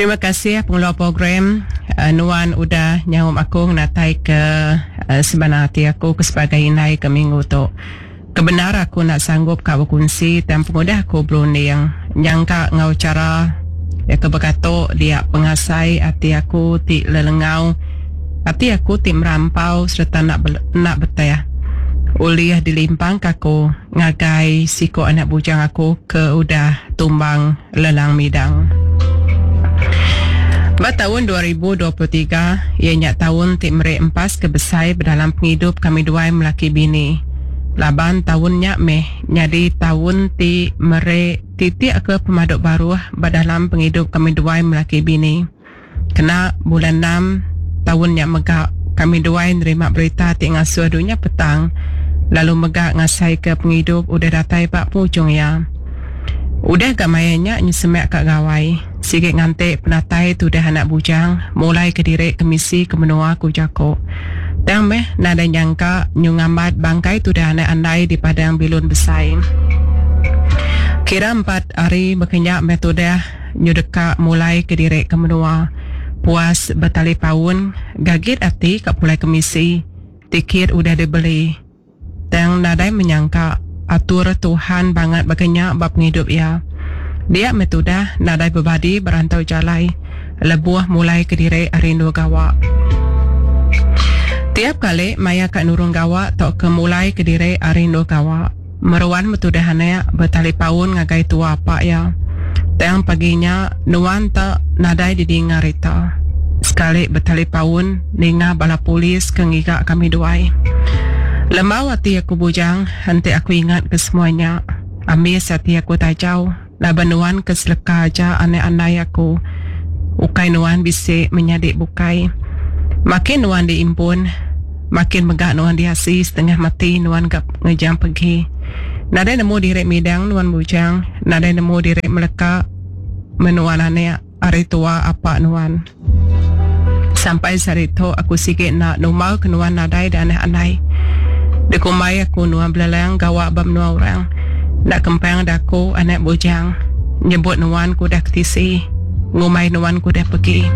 Terima kasih pengeluar program nuan udah nyaup aku ngenatai ke sebana ati aku ke sebagai indai ke minggu tu. Kebendar aku enda sanggup ka bekunsi tang pengudah aku berunding nyangka enggau chara iya ke bekato dia pengasai ati aku ti lelengau ati aku ti merampau sereta enda enda beteh ulih dilimpangka aku ngagai siku anak bujang aku ke udah tumbang lelang midang. Ba taun 2023, iya nya taun ti meri empas ke besai ba dalam pengidup kami duai melaki bini. Laban taun nya meh nyadi taun ti meri titik ke pemadu baruh ba dalam pengidup kami duai melaki bini. Kena bulan enam taun nya mega, kami duai nerima berita ti ngasuh dunya petang lalu mega ngasaika pengidup udah datai ba pengujung iya. Udah ga maya nya nyesemak ka gawai, sigi nganti penatai tudah anak bujang mulaika diri kemisi ke menua ku jaku. Tang meh nadai nyangka nyu ngambat bangkai tudah anak andai di padang bilun besai. Kira empat hari baka nya meh tudah. Nyu deka mulai ke diri ke menua. Puas betalipaun, gagit ati ka pulai kemisi, tikit udah dibeli. Tang nadai menyangka atur Tuhan bangat baka nya ba pengidup iya. Dia meh tudah nadai bebadi berantau jalai lebuh mulai ke diri ari endur gawa. Tiap kali maya ka nurun gawa tauka mulai ke diri ari endur gawa. Meruan betudah anak betalipaun ngagai tua apak iya. Tang pagi nya nuan te nadai didinga rita. Sekali betalipaun ninga bala polis ke ngiga kami duai. Lembau ati aku bujang enti aku ingat ke semua nya. Ambis ati aku tajau laban nuan ke seleka aja anak andai aku. Ukai nuan bisi menyadi bukai. Makin nuan diimpun, makin mega nuan diasi setengah mati nuan ga ngejang pegi. Nadai nemu diri midang nuan bujang, nadai nemu diri meleka menua anak ari tua apa nuan. Sampai sehari tu aku sigi enda numbal ke nuan nadai da anak andai. Dikumbai aku nuan belelang gawa ba menua orang. Enda kempang da aku anak bujang nyebut nuan ku udah ketisi. Ngumbai nuan ku udah pegi.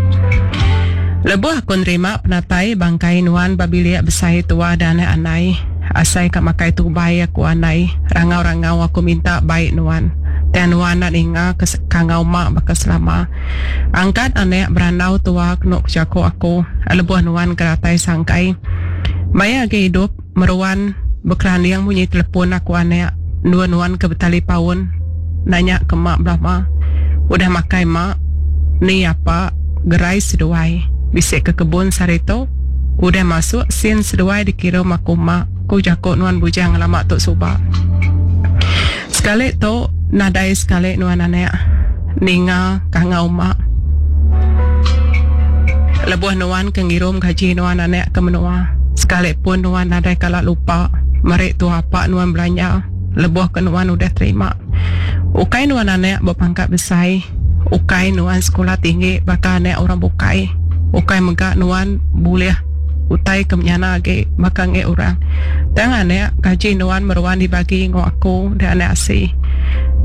Lebuh aku nerima penatai bangkai nuan ba bilik besai tua da anak andai, asai ka makai tubai aku andai, rangau-rangau aku minta bai nuan. Tang nuan enda ninga ke kangau mak baka selama. Angkat anak berandau tua kenu ku jaku aku lebuh nuan ke datai sangkai. Maya agi idup meruan bekelanding munyi telepon aku anak endur nuan ke betalipaun nanya ke mak belama. Udah makai mak ni apa gerai seduai bisi ke kebun sehari tu udah masuk sin seduai dikirum aku mak ku jaku nuan bujang ngelama tu suba. Sekali tu nadai sekali nuan anak ninga kangau mak. Lebuh nuan ke ngirum gaji nuan anak ke menua, sekali pun nuan nadai kala lupa meri tua apak nuan belanja lebuh ke nuan udah terima. Ukai nuan anak bepangkat besai, ukai nuan sekula tinggi baka anak orang bukai, ukai mega nuan bulih utai ke menyana agi baka enggi orang. Tang anak, gaji nuan meruan dibagi enggau aku deh anak asi.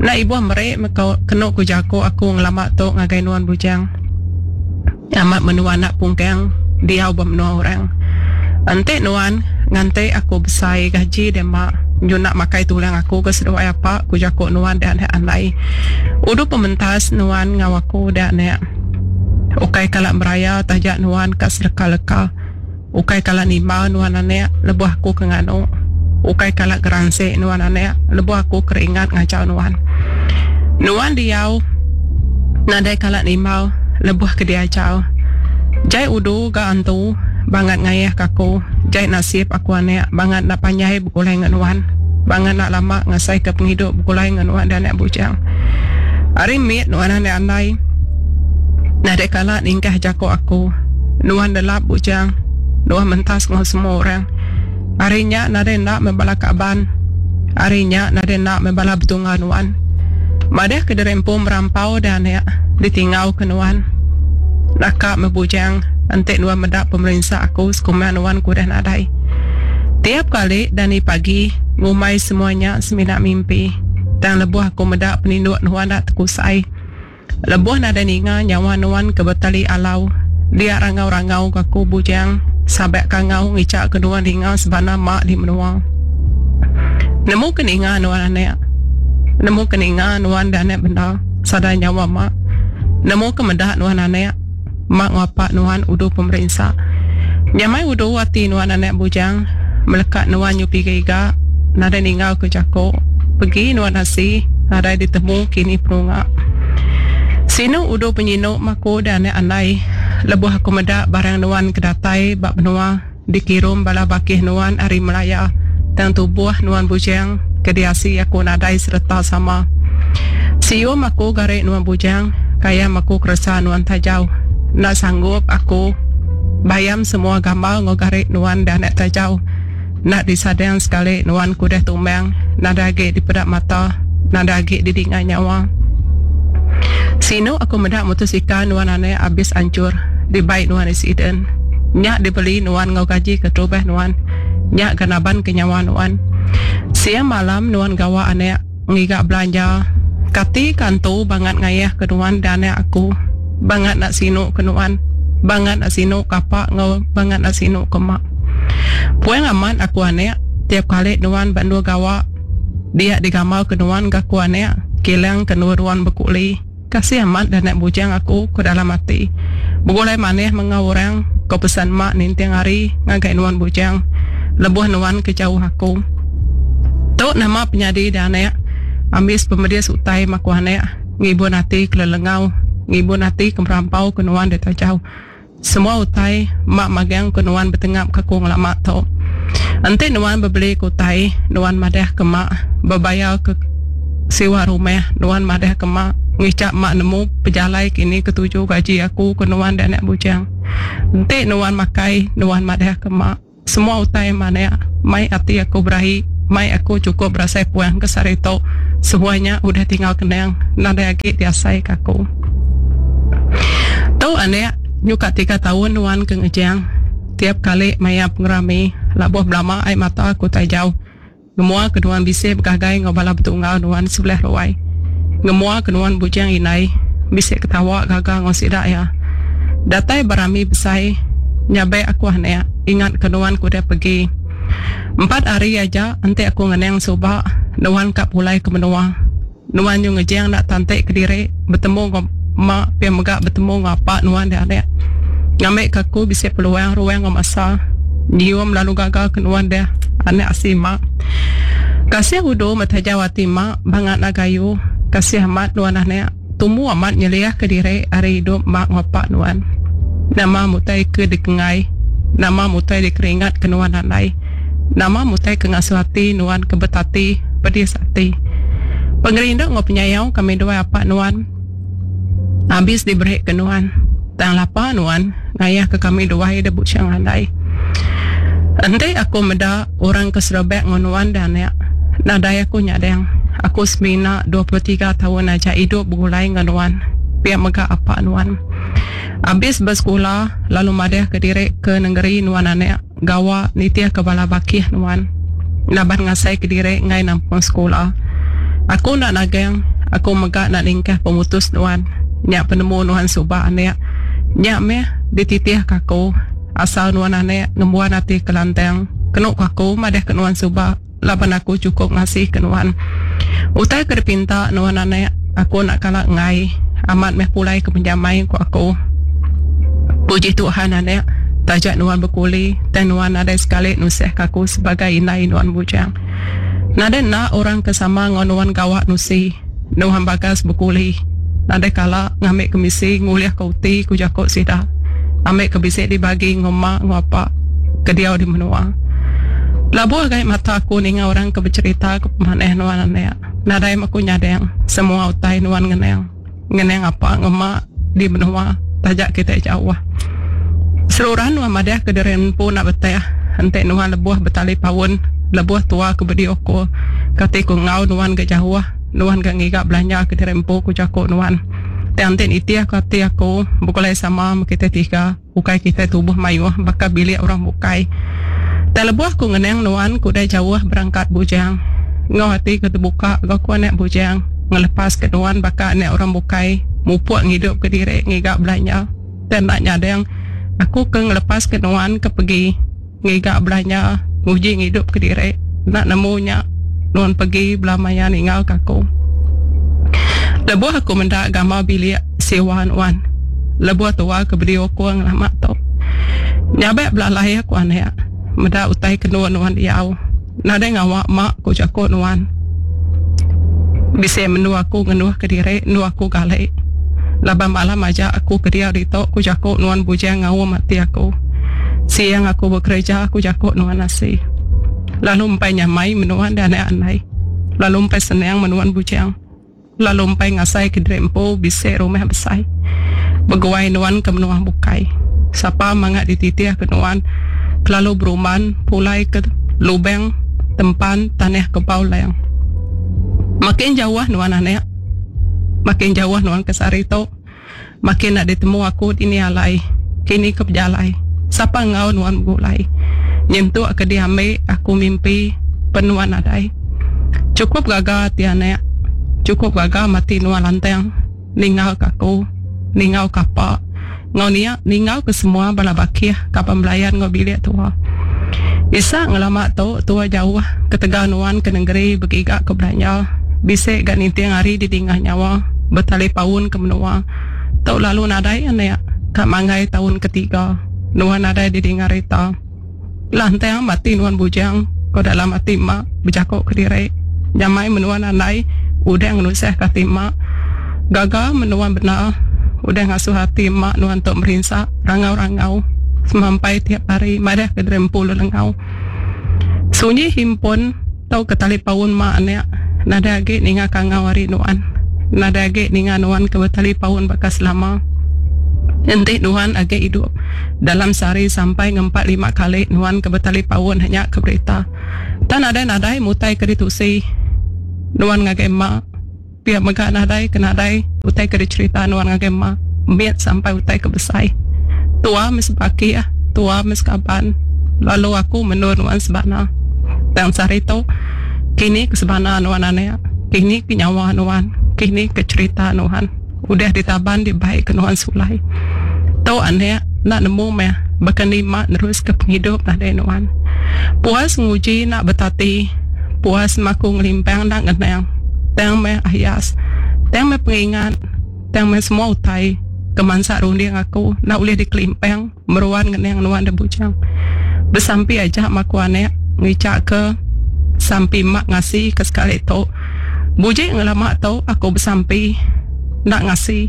Enda ibuh meri meh kenu ku jaku aku ngelama tu ngagai nuan bujang. Amat menua anak pungkang diau ba menua orang. Enti nuan nganti aku besai gaji deh ma nyunak makai tulang aku ke seduai apa ku jaku nuan deh anak andai. Udu pementas nuan enggau aku deh anak. Ukai kala meraya taja nuan ka seleka-leka. Ukai kala nimbal nuan anak lebuh aku ke nganu. Ukai kala geransi nuan anak lebuh aku ke ringat ngajau nuan. Nuan diau nadai kala nimbal lebuh ke diajau. Jai udu ga antu bangat ngayah ke aku. Jai nasib aku anak bangat enda panjai begulai enggau nuan. Bangat enda lama ngasaika pengidup begulai enggau nuan deh anak bujang. Ari mit nuan anak andai. Nadai kala ningkah jaku aku. Nuan nelap bujang. Nuan mentas enggau semua orang. Ari nya nadai enda meh bala kaban. Ari nya nadai enda meh bala betungga nuan. Madah ke diri empu merampau deh anak ditingau ke nuan. Naka meh bujang enti nuan meda pemerinsa aku sekumbang nuan ke udah nadai. Tiap kali dani pagi ngumbai semua nya semina mimpi. Tang lebuh aku meda peninduk nuan enda tekusai. Lebuh nadai ninga nyawa nuan ke betali alau dia rangau-rangau ga aku bujang sabak kangau ngicha ke nuan ninga sebana mak di menua. Nemu ke ninga nuan anak. Nemu ke ninga nuan da anak benda sada nyawa mak. Nemu ke meda nuan anak mak ngapa nuan udu pemerinsa. Nyamai udu ati nuan anak bujang meleka nuan nyupi iga nadai ninggal ke jako pegi nuan asi nadai ditemu kini penunga. Sinu udu penyinu maku da anak andai lebuh aku meda barang nuan ke datai ba menua. Dikirum bala bakih nuan ari Melaya tang tubuh nuan bujang ke diasi aku nadai sereta sama. Sium aku gari nuan bujang kayam aku keresa nuan tajau. Enda sanggup aku bayam semua gambar enggau gari nuan dah anak tajau. Enda disadang sekali nuan ke udah tumbang nadai agi dipeda mata nadai agi didinga nyawa. Sinu aku meda motosikal nuan anak abis anchur dibai nuan accident. Nya dibeli nuan enggau gaji keterubah nuan. Nya ga naban ke nyawa nuan. Siang malam nuan gawa anak ngiga belanja. Kati ka antu bangat ngayah ke nuan da anak aku. Bangat enda sinu ke nuan. Bangat enda sinu ke apa enggau bangat enda sinu ke mak. Puang amat aku anak tiap kali nuan ba endur gawa dia digambar ke nuan ga aku anak kilang ke endur nuan bekuli. Kasih amat dah anak bujang aku ku dalam ati. Begulai manih mengau orang, ko pesan mak ninting hari ngagai nuan bujang lebuh nuan ke jauh aku. Tu nama penyadi dah anak, ambis pemedis utai maku anak, ngibun ati ke lelengau, ngibun ati ke merampau ke nuan deh tajau. Semua utai mak magang ke nuan betengap ke aku ngelama tu. Enti nuan bebeli ke utai, nuan madah ke mak bebayar ke siwa rumah, nuan madah ke mak ngicha mak nemu pejalai kini ke tuju gaji aku ke nuan deh anak bujang. Enti nuan makai, nuan madah ke mak. Semua utai manak mai ati aku berahi, mai aku chukup berasai puang ke sehari tu. Semua nya udah tinggal kenang, nadai agi diasai ke aku. Tu anak, nyuka tiga taun nuan ke ngejang. Tiap kali maya pengerami, labuh belama ai mata aku tajau. Ngemua ke nuan bisi begagai enggau bala betunggal nuan sebelah ruai. Ngemua ke nuan bujang indai bisi ketawa gaga enggau sida iya. Datai ba rami besai nyabek aku anak ingat ke nuan ke udah pegi. Empat hari aja enti aku ngenang suba nuan ka pulai ke menua. Nuan nyu ngejang enda tanti kediri betemu enggau mak pia mega betemu enggau apak nuan deh anak. Ngambi ke aku bisi peluang ruang enggau masa nyium lalu gaga ke nuan deh anak asi mak. Kasih udu metajau ati mak bangat enda gayu. Kasih amat nuan anak tumu amat nyeliah ke diri ari idup mak enggau apak nuan. Nama mutai ke dikenggai nama mutai dikeringat ke nuan andai. Nama mutai ke ngasuh ati nuan ke betati pedis ati. Pengerindu enggau penyayau kami duai apak nuan abis diberi ke nuan. Tang lapa nuan ngayah ke kami duai da buchang andai. Enti aku meda orang ke serebak enggau nuan da anak, nadai aku nyadang. Aku semina 23 taun aja idup begulai enggau nuan, pia mega apak nuan. Abis besekula lalu madah ke diri ke nengeri nuan anak. Gawa nitihka bala bakih nuan laban ngasaika diri enggai nampung sekula. Aku enda nagang, aku mega enda ningkah pemutus nuan. Nya penemu nuan suba anak. Nya meh dititihka aku. Asal nuan anak ngembuan ati ke lantang, kenu ku aku madahka nuan suba laban aku chukup ngasika nuan. Utai ke dipinta nuan anak, aku enda kala enggai. Amat meh pulai ke penjamai ku aku. Puji Tuhan anak, taja nuan bekuli, tang nuan nadai sekali nusahka aku sebagai indai nuan bujang. Nadai enda orang ke sama enggau nuan gawa nusi, nuan bagas bekuli. Nadai kala ngambi kemisi ngulihka uti ku jaku sida. Ambi ke bisi dibagi enggau mak enggau apak ke diau di menua. Labuh gai mata aku ninga orang ke becherita ke pemanah nuan anak. Nadai meh aku nyadang semua utai nuan ngenang. Ngenang apa enggau mak di menua taja kitai jauh. Seruran nuan madah ke diri empu enda betah enti nuan lebuh betali paun lebuh tua ke bedi ukur. Kati ku enggau nuan ga jauh nuan ga ngiga belanja ke diri empu ku jaku nuan. Tang enti nitih ku ati aku begulai sama meh kitai tiga ukai kitai tubuh mayuh baka bilik orang bukai. Tang lebuh ku ngenang nuan ku udah jauh berangkat bujang enggau ati ke tebuka ga ku anak bujang. Ngelepas ke nuan baka anak orang bukai mupuk ngidup ke diri ngiga belanja. Tang enda nyadang aku ke ngelepas ke nuan ke pegi ngiga belanja nguji ngidup ke diri enda nemu nya nuan pegi bela maya ninggal ke aku. Lebuh aku meda gamal bilik siwa nuan lebuh tua ke bediukung ngelama tu. Nyabak belalai aku anak meda utai ke endur nuan diau. Nadai ngawa ma ku jaku nuan. Bisi mendu aku ngenduh kediri endu aku gali. Laban malam aja aku ke diau ditu ku jaku nuan bujang ngaum ati aku. Siang aku bekereja ku jaku nuan asi. Lalu empai nyamai menuan deh anak andai. Lalu empai senang menuan bujang. Lalu empai ngasai ke diri empu bisi rumah besai. Beguai nuan ke menua bukai. Sapa manga dititih ke nuan kelalu berumban pulai ke lubang tempan tanah kebau lang. Makin jauh nuan anak, makin jauh nuan ke sehari tu, makin enda ditemu aku dini alai, kini ke pejalai. Sapa enggau nuan begulai. Nyentuk ke diambi aku mimpi pen nuan nadai. Chukup gaga ati anak, chukup gaga mati nuan lantang ninggal ke aku, ninggal ke apa enggau nia ninggal ke semua bala bakih kaban belayan enggau bilik tua. Isa ngelama tu tua jauh ketegal nuan ke nengeri begiga ke belanja bisi ga ninting hari didingah nyawa betalipaun ke menua tu lalu nadai anak ka manggai taun ketiga nuan nadai didinga rita. Lantang mati nuan bujang, ko dalam ati ema bejako kediri. Nyamai menua nandai udah ngenusah ke ati ema. Gaga menua bendar udah ngasuh ati ema nuan tu merinsa rangau-rangau semampai tiap hari madah ke diri empu lelengau. Sunyi himpun tauka talipaun ema anak nadai agi ninga kangau ari nuan. Nadai agi ninga nuan ke betalipaun baka selama. Enti nuan agi idup dalam sehari sampai ngempat lima kali nuan ke betalipaun nya ke berita. Tang nadai nadai mutai ke ditusi nuan ngagai ema. Pia mega nadai ke nadai utai ke dicherita nuan ngagai ema mit sampai utai ke besai. Tua meh sebakih, tua meh sekaban lalu aku mendur nuan sebana. Tang sehari tu kini ke sebana nuan anak, kini ke nyawa nuan, kini ke cherita nuan. Udah ditaban dibai ke nuan sulai. Tu anak enda nemu meh baka ni mak neruska pengidup nadai nuan. Puas nguji enda betati, puas maku ngelimpang enda ngenang. Tang meh ayas, tang meh pengingat, tang meh semua utai ke mansa runding aku enda ulih dikelimpang meruan ngenang nuan da bujang. Besampi aja maku anak ngichaka sampi mak ngasi ke sekali tu. Buji ngelama tu aku besampi enda ngasi.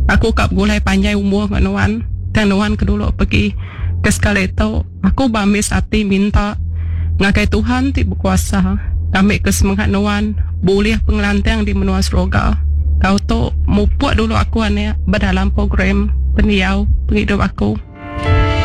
Aku ka begulai panjai umur enggau nuan tang nuan ke dulu pegi. Ke sekali tu aku beambis ati minta ngagai Tuhan ti bekuasa ngambika semengat nuan bulih pengelantang di menua seroga. Enggau tu mupuk dulu aku anak ba dalam program pendiau pengidup aku.